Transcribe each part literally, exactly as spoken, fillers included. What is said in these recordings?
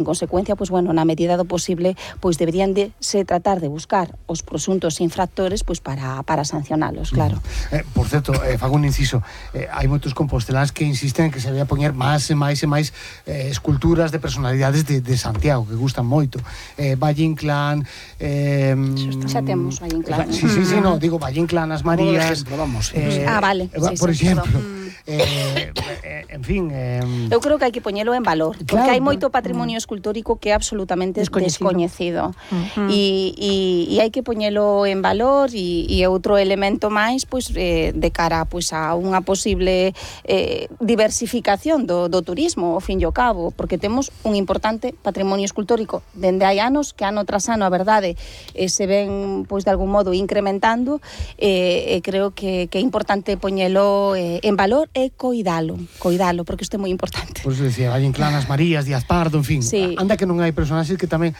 En consecuencia, pois, bueno, na medida do posible, pois deberían de se tratar de buscar os presuntos infractores pois para, para sancionalos, claro. Eh, por certo, eh, fago un inciso, eh, hai moitos composteláns que insisten en que se debe poñer máis e máis e máis eh, esculturas de personalidades de, de Santiago, que gustan moito. Eh, Valle Inclán... Eh, xa temos Valle Inclán. Sí, sí, sí, no, digo Valle Inclán, As Marías... Ejemplo, vamos. Eh, ah, vale. Eh, sí, por sí, exemplo... Eh, eh, en fin... Eh, Eu creo que hai que poñelo en valor, porque claro, hai moito patrimonio escultórico que é absolutamente descoñecido, descoñecido. Uh-huh. e, e, e hai que poñelo en valor e, e outro elemento máis pois, eh, de cara pois, a unha posible eh, diversificación do, do turismo, ao fin e ao cabo, porque temos un importante patrimonio escultórico dende hai anos, que ano tras ano a verdade eh, se ven pois, de algún modo incrementando, e eh, eh, creo que, que é importante poñelo eh, en valor e coidalo, coidalo, porque isto é moi importante. Por eso decía, Valle Inclán, As Marías, Díaz Pardo, en fin, sí. Anda que non hai personaxes que tamén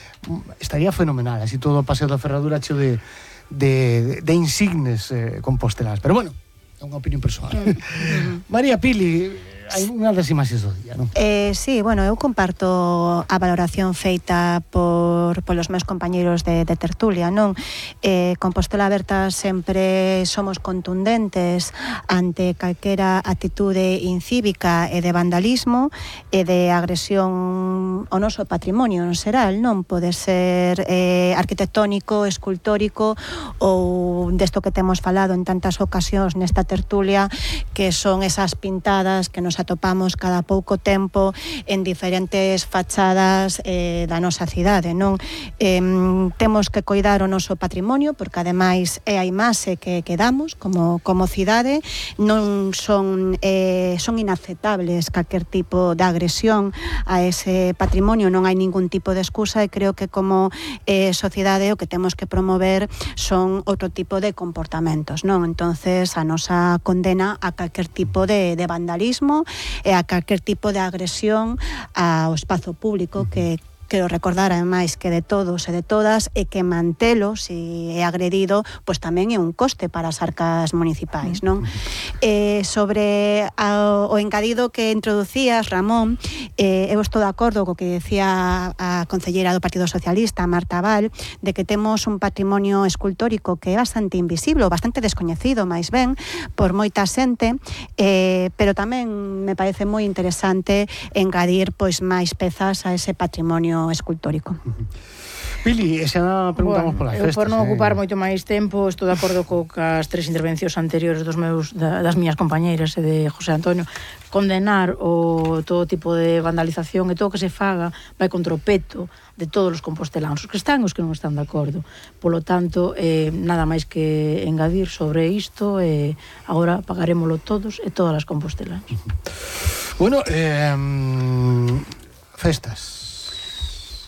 estaría fenomenal, así todo o Paseo da Ferradura cheo de, de, de insignes eh, compostelás, pero bueno, é unha opinión persoal. Mm. María Pili, hai unha das imaxes do día, non? Eh, sí, bueno, eu comparto a valoración feita por polos meus compañeiros de, de tertulia, non? Eh, Compostela Aberta sempre somos contundentes ante calquera actitude incívica e de vandalismo e de agresión ao noso patrimonio en xeral, non? Pode ser eh, arquitectónico, escultórico ou desto que temos falado en tantas ocasións nesta tertulia, que son esas pintadas que nos atopamos cada pouco tempo en diferentes fachadas eh, da nosa cidade, non? Eh, temos que coidar o noso patrimonio, porque ademais é a imaxe que, que damos como, como cidade, non son, eh, son inaceptables calquer tipo de agresión a ese patrimonio, non hai ningún tipo de excusa, e creo que como eh, sociedade o que temos que promover son outro tipo de comportamentos, non? Entonces a nosa condena a calquer tipo de, de vandalismo e a calquer tipo de agresión ao espazo público, que quero recordar ademais que de todos e de todas, e que mantelo, se é agredido, pois tamén é un coste para as arcas municipais, non? Eh, sobre a, o engadido que introducías, Ramón, eh, eu estou de acordo co que decía a concelleira do Partido Socialista, Marta Val, de que temos un patrimonio escultórico que é bastante invisible, bastante descoñecido, máis ben, por moita xente, eh, pero tamén me parece moi interesante engadir pois máis pezas a ese patrimonio escultórico. Pili, xa preguntamos bueno, polas festas. Eu por non ocupar eh. moito máis tempo, estou de acordo co cas tres intervencións anteriores dos meus da, das miñas compañeiras e de José Antonio. Condenar o todo tipo de vandalización e todo o que se faga vai contra o peto de todos os composteláns, os que están e os que non están de acordo. Polo tanto, eh, nada máis que engadir sobre isto, e eh, agora pagarémolo todos e todas as composteláns. Bueno, eh, festas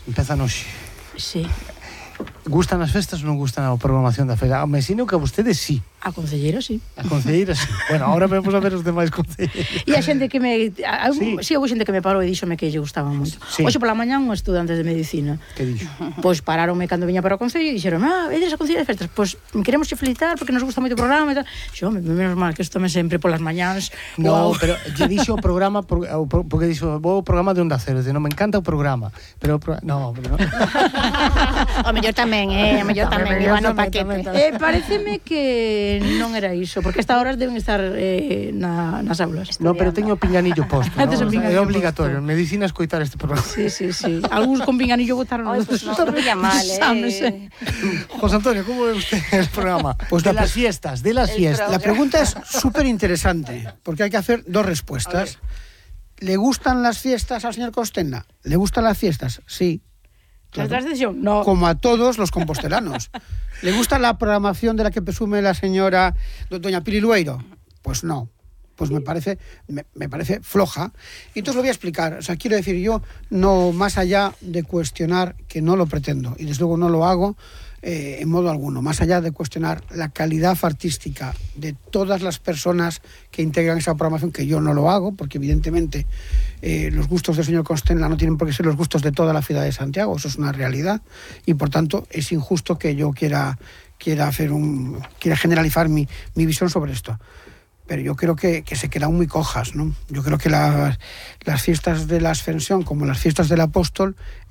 empezan hoxe. Sí. Gustan as festas ou non gustan a programación da feira? Me sino que a vostedes sí. A concelleira sí. A concelleira sí. Bueno, ahora vamos a ver os demais concelleiros. E a xente que me... A, sí. sí, houve xente que me parou e díxome que lle gustaba moito. Sí. Hoxe pola mañá un estudante de medicina. Que dixo? Pois pararonme cando viña para o concello e dixeron: ah, vedes a concelleira de festas? Pois queremos che felicitar porque nos gusta moito o programa e tal. Xo, menos mal que isto me sempre polas mañáns. No, wow. Pero lle dixo o programa, porque dixo, vou o programa de Onda Cero, non me encanta o programa. Pero, no, pero... O mellor tamén, eh, o mellor tamén, iba no paquete. Eh, pareceme que non era iso, porque estas horas deben estar eh, na, nas aulas. No, pero teño o pinganillo posto, ¿no? O sea, é obligatorio, en medicina escoitar este programa. Sí, sí, sí. Algúns con pinganillo votaron os pues no, non ia mal, eh. José Antonio, como ve usted el programa? Pues de las fiestas, de las fiestas. La pregunta es súper interesante, porque hay que hacer dos respuestas. ¿Le gustan las fiestas al señor Costena? ¿Le gustan las fiestas? Sí. Claro. No. Como a todos los compostelanos. ¿Le gusta la programación de la que presume la señora doña Pili Lueiro? Pues no. Pues me parece, me, me parece floja. Y entonces lo voy a explicar. O sea, quiero decir, yo no, más allá de cuestionar, que no lo pretendo, y desde luego no lo hago, eh, en modo alguno, más allá de cuestionar la calidad artística de todas las personas que integran esa programación, que yo no lo hago, porque evidentemente eh, los gustos del señor Costena no tienen por qué ser los gustos de toda la ciudad de Santiago, eso es una realidad, y por tanto es injusto que yo quiera, quiera, hacer un, quiera generalizar mi, mi visión sobre esto. Pero yo creo que, que se quedan muy cojas, ¿no? Yo creo que la, las fiestas de la Ascensión, como las fiestas del Apóstol,